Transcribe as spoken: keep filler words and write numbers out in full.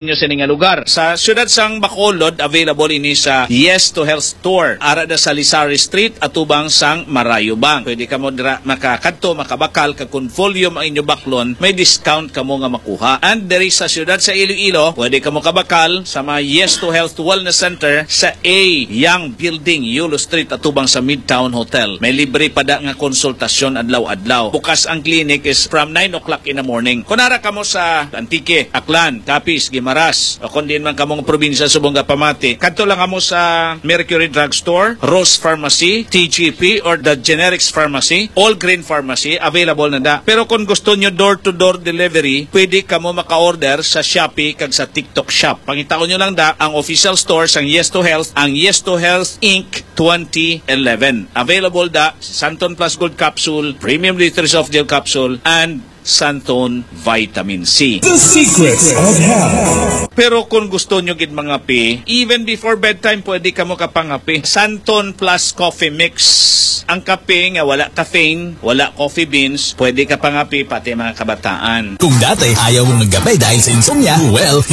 nyo sini nga lugar. Sa siyudad sang Bacolod, available ini sa Yes to Health Store. Ara da sa Lizari Street, atubang sang Marayo Bank. Pwede kamo dira makakadto, makabakal, kag kung volume ang inyo baklon, may discount kamo nga makuha. And diri sa siyudad sa Iloilo, pwede kamo kabakal sa mga Yes to Health Wellness Center sa A Young Building, Yulo Street, atubang sa Midtown Hotel. May libre pa da nga konsultasyon adlaw-adlaw. Bukas ang clinic is from nine o'clock in the morning. Kung ara kamo sa Antique, Aklan, Capiz, Guimaras, o kung diin man kamo nga probinsya subong nga pamati, kadto lang kamo sa Mercury Drugstore, Rose Pharmacy, T G P, or the Generics Pharmacy, All Green Pharmacy, available na da. Pero kung gusto nyo door-to-door delivery, pwede kamo maka-order sa Shopee kag sa TikTok Shop. Pangitaon nyo lang da ang official store sang Yes to Health, ang Yes to Health Inc twenty eleven. Available da sa Santon Plus Gold Capsule, Premium Liters of Gel Capsule, and Santon Vitamin C. The Secrets of Health. Pero kung gusto nyo gid mangape, even before bedtime, pwede kamo kapangape. Santon Plus Coffee Mix. Ang kape nga wala caffeine, wala coffee beans, pwede kapangape pati mga kabataan. Kung dati ayaw mong magkape dahil sa insomnia, well,